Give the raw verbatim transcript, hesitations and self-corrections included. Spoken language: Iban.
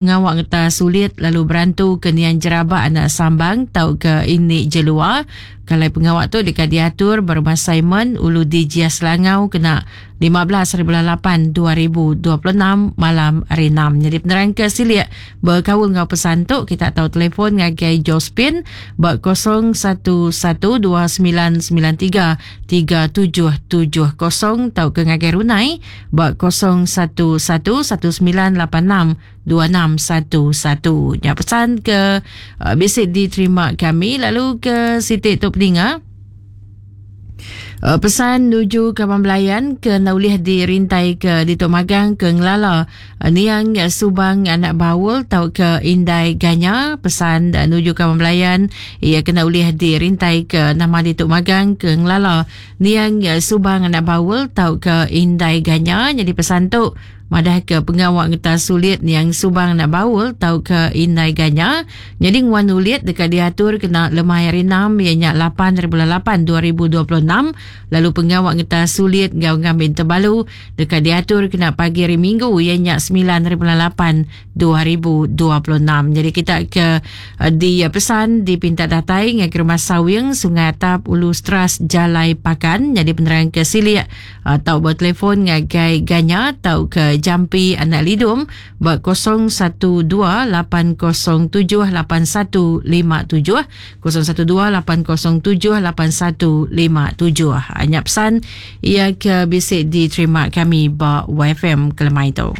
Pengawa ngetas ulit lalu berantu ke niang Jerabak anak Sambang tau ke ini Jelua. Kalai pengawa tu deka diatur ba Rumah Simon Ulu di Jia Selangau kena lima belas hari bulan lapan dua ribu dua puluh enam malam hari enam. Jadi penerang ke silik berkaul ngau pesan tu kita tahu telefon ngagai Josephine ba kosong satu satu dua sembilan sembilan tiga tiga tujuh tujuh kosong tau ke ngagai Runai ba kosong satu satu satu sembilan lapan enam dua enam satu satu. Ya pesan ke uh, bisi diterima kami lalu ke Siti tu peninga. Uh, pesan nuju kawan belayan ke naulih dirintai ke Ditok Magang ke Ngelala uh, Niang Subang anak Baul tau ke Indai Ganya. Pesan uh, nuju kawan belayan ia kena ulih dirintai ke nama Ditok Magang ke Ngelala Niang Subang anak Baul tau ke Indai Ganya. Jadi pesan tu madah ke pengawak ngetas sulit Niang Subang anak Baul tau ke Indai Ganya. Jadi nguan ulit dekat diatur kena lemai hari enam ianya lapan hari bulan lapan dua ribu dua puluh enam. Lalu pengawak ngetas sulit ngau ngambil terbalu dekat diatur kena pagi hari Minggu ianya sembilan hari bulan lapan dua ribu dua puluh enam. Jadi kita ke di pesan dipinta datai ngai ke Rumah Sawing Sungai Atap Ulu Stras Jalai Pakan. Jadi penerang ke silik atau bertelefon ngagai Ganya atau ke Jampi Anak Lidum ba kosong satu dua lapan kosong tujuh lapan satu lima tujuh kosong satu dua lapan kosong tujuh lapan satu lima tujuh. Hanya pesan ia ke bisik diterima kami ba Y F M kelemai tu.